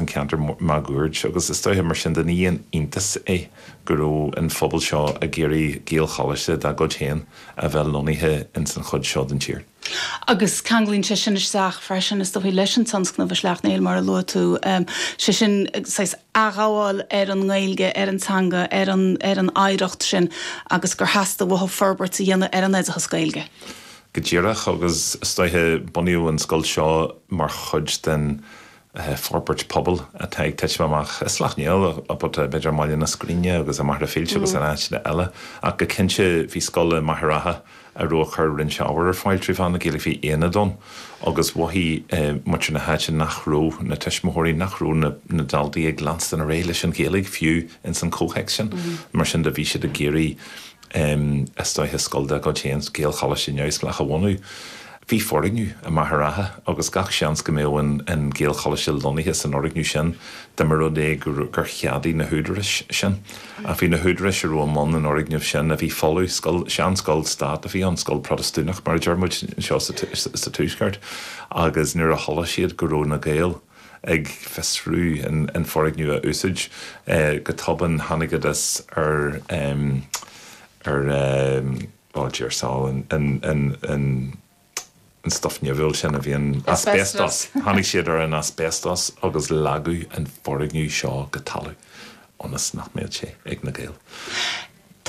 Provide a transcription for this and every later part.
an ceantar máguaird agus is dóiche mar sin de ní haon iontas é go raibh an phobal seo ag iarraidh Gaelcholáiste dá gcuid féin a bheith lonnaithe ins an chuid seo den tír. Agus ceanglaíonn sé sin isteach freisin, is dóichí, leis an tionscnamh i Sleacht Néill, mar a luaigh tú, sé sin saghas athghabháil ar an nGaeilge, ar an teanga, ar an ar an oidhreacht sin agus gur theastaigh uathu forbairt a dhéanamh ar an oideachas Gaeilge. Go díreach, agus is dóiche, bunaíodh an scoil seo mar chuid den forbairt pobail atá ag titim amach i Sleacht Néill, but b'fhéidir i mBaile na Scríne agus i Machaire Fíolta agus in áiteanna eile. Ach go cinnte bhí scoil i Machaire Rátha a raibh ag cur roinnt ábhar ar fáil trí mheán na Gaeilge, bhí aonad ann agus mhothaigh muintir na háite nach raibh na tuismitheoirí, nach raibh na daltaí ag leanstan ar aghaidh leis an Ghaeilge fiú ins an chomhthéacs sin. Mar sin de bhí siad ag iarraidh is dóiche scoil dá gcuid féin, Gaelcholáiste neamhspleách a bhunú. Bhí foirgneamh i Machaire Rátha agus gach seans go mbeadh an Gaelcholáiste lonnaithe san fhoirgneamh sin dá mba rud é gur cheadaigh na húdaráis sin. Ach bhí na húdaráis a raibh i mbun an fhoirgnimh sin, a bhí folamh, scoil, seanscoil stát a bhí ann, scoil Protastúnach mar a deir muid anseo sa Tuaisceart, agus nuair a chuala siad go raibh na Gaeil, ag fiosrú an foirgneamh a úsáid. Go tobann tháinigeadas ar ar oh dear soul an an an an stuif nimhiúil sin a bhíonn asbestos. Tháinig siad ar an asbestos agus leagadh an foirgneamh seo go talamh ionas nach mbeadh sé ag na Gaeil.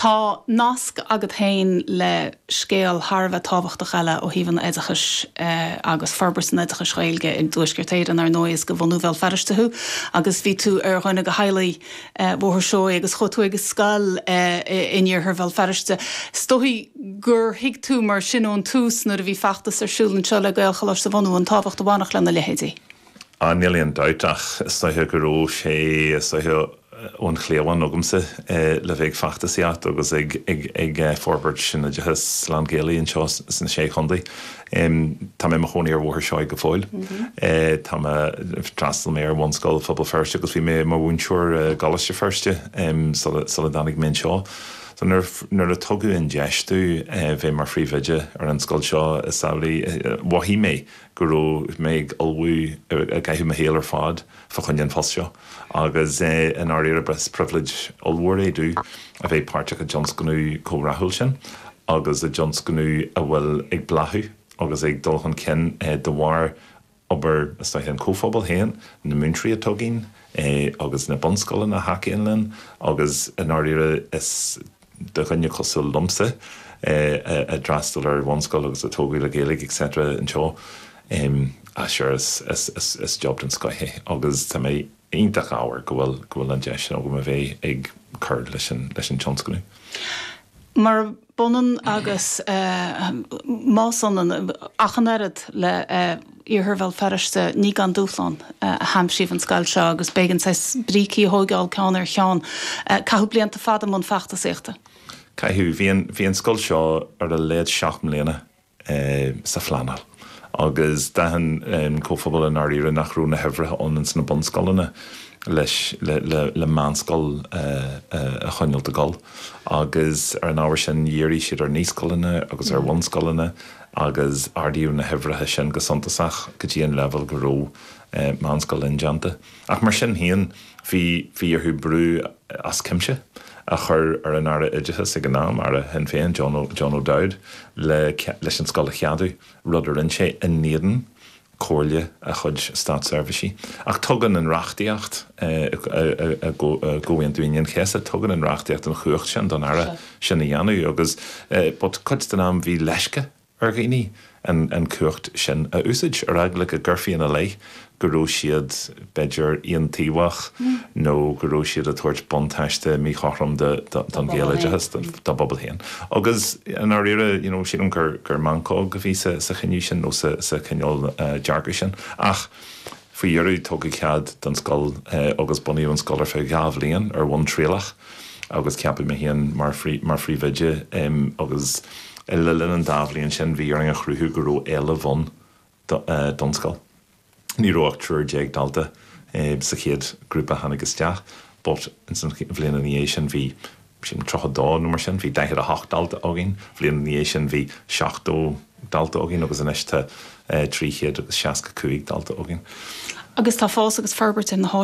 Tá nasc agat féin le scéal thar a bheith tábhachtach eile ó thaobh an oideachais agus forbairt an oideachais Ghaeilge i dTuaisceart Éireann, ar ndóigh, is de bhunú Bhéal Feirste thú agus bhí tú ar dhuine de theaghlaigh Bhóthar Seoighe agus chuaigh tú ag an scoil in iarthar Bhéal Feirste. Is dóichí gur thuig tú mar sin ón tús nuair a bhí feachtas ar siúl anseo le Gaelcholáiste a bhunú an tábhacht a bhainfeadh lena leithéidí. Ah, níl aon dabht ach is dóiche go raibh sé, is dóiche, ón chliabhán agamsa le bheith ag feachtasaíocht agus ag, ag, ag forbairt an oideachais lán-Ghaelaigh anseo sna Sé Chontae. Tá mé i mo chónaí ar Bhóthar Seoighe go fóill. Tá mé, d'fhreastail mé ar Bhunscoil Phobal Feirste agus bhí mé i mo mhúinteoir i gColáiste Feirste sula, sula dtáinig mé anseo. So nuair, nuair a tugadh an deis domh bheith mar phríomhoide ar an scoil seo is amhlaidh, mhothaigh mé go raibh mé ag ullmhú, ag caitheamh mo shaoil ar fad fá choinne an phost seo agus i ndáiríre is pribhléid ollmhór é domh a bheith páirteach i dtionscnamh chomh rathúil sin agus i dtionscnamh a bhfuil ag bláthú agus ag dul chun cinn de bharr obair is dóiche an chomhphobail féin, na múinteoirí atá againn agus na bunscoileanna a thacaíonn linn agus i ndáiríre is do dhuine cosúil liomsa a d'fhreastail ar bhunscoil agus a tógadh le Gaeilge etc anseo, ah sure is is job den scoith é agus tá mé iontach ádhmhar go bhfuil go bhfuil an deis sin agam a bheith ag cur leis an leis an tionscnamh. Murab ionann agus más ionann ach an oiread le Iarthar Bhéal Feirste, ní gan dúshlán a haimsíodh an scoil seo agus b'éigean saghas brící a thóigeáil ceann ar cheann. Caitheadh blianta fada i mbun feachtasaíochta. Caitheadh. Bhí an, bhí an scoil seo ar a laghad 7 mbliana sa phleanáil agus d'aithin an comhphobal i ndáiríre nach raibh na huimhreacha ann ins na bunscoileanna leis, le, le, le meánscoil a choinneáilt ag dul agus ar an ábhar sin dhírigh siad ar naíscoileanna agus ar bhunscoileanna agus ardaíodh na huimhreacha sin go suntasach go dtí an leibhéal go raibh meánscoil indéanta. Ach mar sin féin, bhí bhí orthu brú as cuimse a chur ar an Aire Oideachais ag an am, Aire Shinn Féin, John John O'Dowd, le leis an scoil a cheadú, rud a rinne sé in éadan comhairle a chuid státseirbhísigh. Ach tugann an reachtaíocht i gComhaontú Aoine an Chéasta, tugann an reachtaíocht an chumhacht sin don Aire sin a dhéanamh agus but cuid den am bhí leisce ar dhaoine an chumhacht sin a úsáid, ar eagla go gcuirfí ina leith go raibh siad, b'fhéidir, aontaobhach nó go raibh siad ag tabhairt buntáiste míchothrom don Ghaeloideachas, dá bpobal féin. Agus i ndáiríre, you know, sílim gur gur meancóg a bhí sa sa chinneadh sin nó sa sa chineál dearcadh sin. Ach faoi dheireadh tugadh cead don scoil agus bunaíodh an scoil ar feadh 2 bhliain ar bhonn trialach agus ceapadh mé féin mar mar phríomhoide agus le linn an dá bhliain sin bhí orainn a chruthú go raibh éileamh ann don scoil. Ní raibh ach 13 dalta sa chéad grúpa a tháinig isteach but ins an bhliain ina dhiaidh sin bhí, sílim, 32 nó mar sin, bhí 48 dalta againn, bhliain ina dhiaidh sin bhí 70 dalta againn agus anois tá 365 dalta againn. Agus tá fás agus forbairt ar na háiseanna.